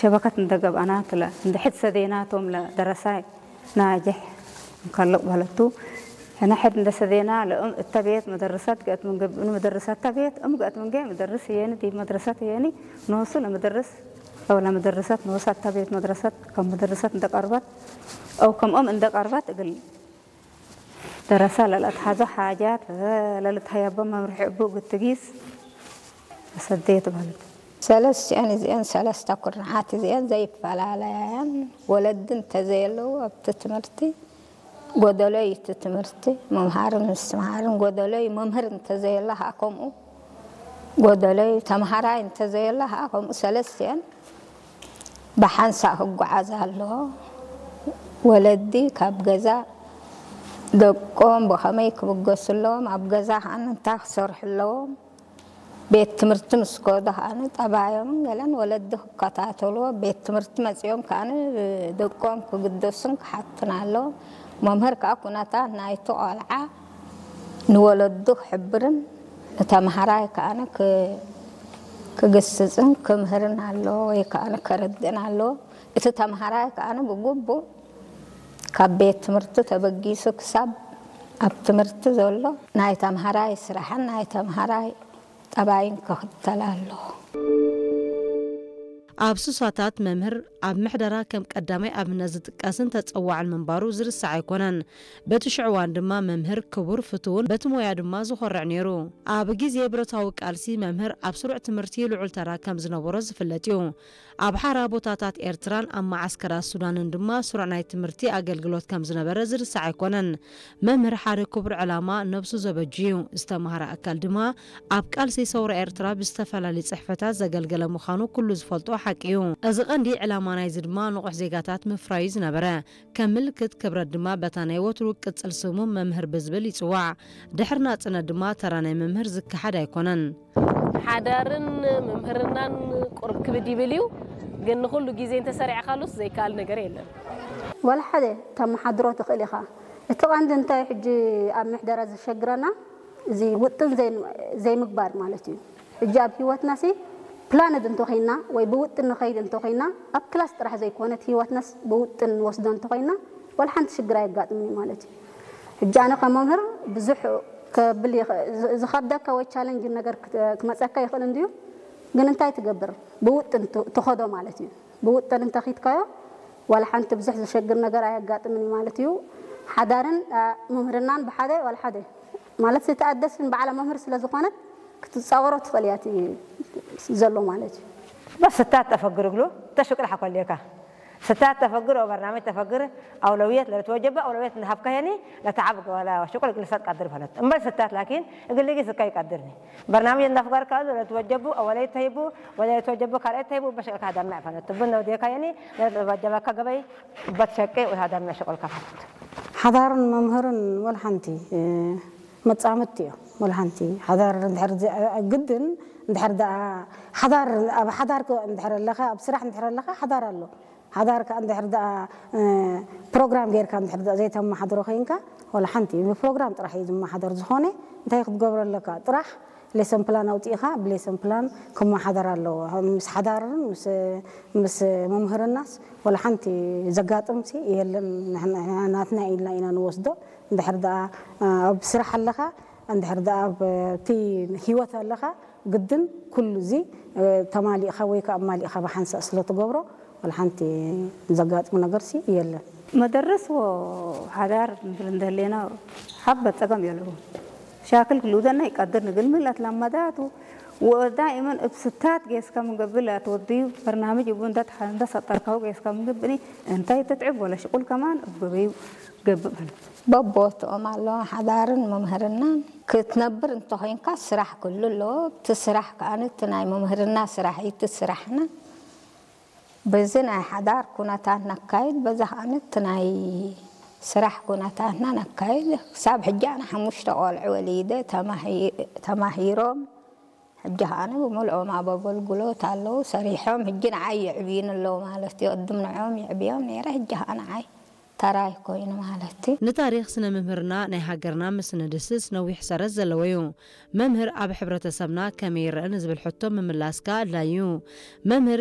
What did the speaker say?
ሸበከት እንደገባና ትለ እንደ ሕድ ሰዴና ቶም ለደረሳይ ናጀሕ እንከልቕ በለቱ። ሕነ ሕድ እንደ ሰዴና ለእም እተ ቤት መደረሰት ገእት ምንገብእኑ መደረሰት እተ ቤት እም ገእት ምንገ መደርስ የኒ ዲብ መድረሰት የኒ ኖሱ ለመደርስ አው ለመደረሰት ኖሳ እተ ቤት መድረሰት ከም መደረሰት እንደ ቀርበት አው ከም እም እንደ ቀርበት እግል ደረሳ ለለትሓዞ ሓጃት ለልትሃየቦ መምርሒ እቡ ግትጊስ ሰደየት በለቱ። ሰለስቲኤን እዚኤን ሰለስተ ኩርንዓት እዚኤን ዘይፈላለያን ወለዲ እንተዘየለዉ ኣብቲ ትምህርቲ ጎደሎይ እቲ ትምህርቲ ምምሃርን ምስትምሃርን ጎደሎይ መምህር እንተዘየለ ከዓ ከምኡ ጎደሎይ ተምሃራይ እንተዘየለ ከዓ ከምኡ ሰለስቲኤን ብሓንሳእ ክጓዓዝ ኣለዎ። ወለዲ ካብ ገዛ ደቆም ብኸመይ ክብገሱ ኣለዎም፣ ኣብ ገዛ ከዓ እንታይ ክሰርሑ ኣለዎም፣ ቤት ትምህርቲ ምስ ከዱ ከዓ ጠባዮምን ገለን ወለዲ ክከታተልዎ፣ ቤት ትምህርቲ መፂኦም ከዓ ደቆም ክግደሱን ክሓቱን ኣለዎም። መምህር ከዓ ኩነታት ናይቲ ቆልዓ ንወለዱ ክሕብርን ንተምሃራይ ከዓ ክግስፅን ክምህርን ኣለዎ ወይ ከዓ ከረድእን ኣለዎ። እቲ ተምሃራይ ከዓ ብግቡእ ካብ ቤት ትምህርቲ ተበጊሱ ክሳብ ኣብ ትምህርቲ ዘሎ ናይ ተምሃራይ ስራሕን ናይ ተምሃራይ ጠባይን ክኽተል ኣለዎ። ኣብ ሱሳታት መምህር ኣብ ምሕደራ ከም ቀዳማይ ኣብነት ዝጥቀስን ተጸዋዕን ምንባሩ ዝርሳዕ ኣይኮነን። በቲ ሽዑ እዋን ድማ መምህር ክቡር ፍቱውን በቲ ሞያ ድማ ዝኾርዕ ነይሩ። ኣብ ግዜ ብረታዊ ቃልሲ መምህር ኣብ ስሩዕ ትምህርቲ ልዑል ተራ ከም ዝነበሮ ዝፍለጥ እዩ። ኣብ ሓራ ቦታታት ኤርትራን ኣብ መዓስከራት ሱዳንን ድማ ስሩዕ ናይ ትምህርቲ ኣገልግሎት ከም ዝነበረ ዝርሳዕ ኣይኮነን። መምህር ሓደ ክቡር ዕላማ ነብሱ ዘበጁ እዩ። ዝተምሃረ ኣካል ድማ ኣብ ቃልሲ ሰውራ ኤርትራ ብዝተፈላለዩ ጽሕፈታት ዘገልገለ ምዃኑ ኩሉ ዝፈልጦ ሓቂ እዩ። እዚ ቀንዲ ዕላማ ናይዚ ድማ ንቑሕ ዜጋታት ምፍራዩ ዝነበረ። ከም ምልክት ክብረት ድማ በታ ናይ ወትሩ ቅጽል ስሙ መምህር ብዝብል ይጽዋዕ። ድሕሪ ናጽነት ድማ ተራ ናይ መምህር ዝከሓድ ኣይኮነን። ሓዳርን ምምህርናን ቁርብ ክብድ ይብል እዩ፣ ግን ንኹሉ ግዜ እንተሰሪዕካሉስ ዘይከኣል ነገር የለን። ዋላ ሓደ ተመሓድሮ ትኽእል ኢኻ። እቲ ቀንዲ እንታይ ሕጂ ኣብ ምሕደራ ዘሸግረና እዚ ውጥን ዘይምግባር ማለት እዩ። ሕጂ ኣብ ህይወትናሲ ፕላንድ እንተኾይና ወይ ብውጥን ንኸይድ እንተኾይና ኣብ ክላስ ጥራሕ ዘይኮነት ህይወትናስ ብውጥን ንወስዶ እንተኾይና ዋላ ሓንቲ ሽግር ኣየጋጥምን እዩ ማለት እዩ። ሕጂ ኣነ ከም መምህር ብዙሕ ከብል ዝኸብደካ ወይ ቻለንጅ ነገር ክመፀካ ይኽእል እንድዩ፣ ግን እንታይ ትገብር ብውጥን ትኸዶ ማለት እዩ። ብውጥን እንተኺድካዮ ዋላ ሓንቲ ብዙሕ ዘሸግር ነገር ኣየጋጥምን እዩ ማለት እዩ። ሓዳርን ምምህርናን ብሓደ ዋላ ሓደ ማለት ዝተኣደስን በዓላ መምህር ስለ ዝኾነት ክትፃወሮ ትኽእል እያ እቲ ዘሎ ማለት እዩ። بس ستات تفكر قلو تشكر حكوا ليكا ستات تفكر أو برنامج تفكر أولويات لتوجب أولويات نهبكا يعني لتعب ولا شغل جلسات قدر فلت أما ستات لكن قل لي زكاي قدرني برنامج نفكر كذا لتوجب أولي تهيبو ولا يتوجب كار تهيبو بشكل هذا ما فلت تبنا وديكا يعني لتوجب كجبي بتشكي وهذا ما شغل كفلت ሓዳርን መምህርን ወላ ሓንቲ መጻምድቲ እዮም። ወላ ሓንቲ ሓዳር እንድሕር ግድን እንድሕር ደኣ ሓዳር ኣብ ሓዳር እንድሕር ኣለኻ ኣብ ስራሕ እንድሕር ኣለኻ ሓዳር ኣሎ። ሓዳር ከኣ እንድሕር ደኣ ፕሮግራም ጌርካ እንድሕር ደኣ ዘይተመሓድሮ ኮይንካ ወላ ሓንቲ ብፕሮግራም ጥራሕ እዩ ዝመሓደር። ዝኾነ እንታይ ክትገብሮ ኣለካ ጥራሕ ሌሰን ፕላን ኣውፂእኻ ብሌሰን ፕላን ክመሓደር ኣለዎ። ምስ ሓዳርን ምስ መምህርናስ ወላ ሓንቲ ዘጋጥምሲ የለን። ናትና ኢልና ኢና ንወስዶ። እንድሕር ደኣ ኣብ ስራሕ ኣለኻ እንድሕር ደኣ ኣብቲ ህይወት ኣለኻ ግድን ኩሉ እዚ ተማሊእኻ ወይ ከዓ ኣማሊእኻ ብሓንሳእ ስለ ትገብሮ ወላ ሓንቲ ዘጋጥሙ ነገርሲ የለን። መደርስ ወሓዳር ንብል እንደሌና ሓበት ጸገም የለዎ። ሻክል ክልውደና ይቀድር ንግል ምለት ለመዳቱ ወዳኢመን እብ ስታት ጌስካ ምንገብእ ለትወድዩ በርናምጅ እቡ እንደ ሰጠርካው ጌስካ ምንገብእኒ እንታይ ትትዕብ ወለ ሽቁል ከማን እብ ገበዩ ገብእ በል። በቦትኦም ኣለዋ ሓዳርን መምህርናን ክትነብር እንተኾይንካ ስራሕ ክህሉ ኣለዎ። እቲ ስራሕ ከኣ እቲ ናይ መምህርና ስራሕ እዩ እቲ ስራሕና። በዚ ናይ ሓዳር ኩነታት ነካይድ በዛ ከኣ እቲ ናይ ስራሕ ኩነታትና ነካይድ። ክሳብ ሕጂ ኣነ ሓሙሽተ ቆልዑ ወሊደ ተማሂሮም ሕጂ ከኣ ብምልኦም ኣብ ኣገልግሎት ኣለዉ ሰሪሖም ሕጂ ንዓይ የዕብዩኒ ኣለዉ ማለት እዩ። ቅድም ንዕኦም የዕብዮም ነይረ ሕጂ ከኣ ንዓይ ተራይ ኮይኑ ማለት እዩ። ንታሪኽ ስነ ምህርና ናይ ሃገርና ምስ ንድህስስ ነዊሕ ሰረት ዘለዎ እዩ። መምህር ኣብ ሕብረተሰብና ከመይ ይረአ ንዝብል ሕቶ ምምላስ ከኣ ኣድላዪ እዩ። መምህር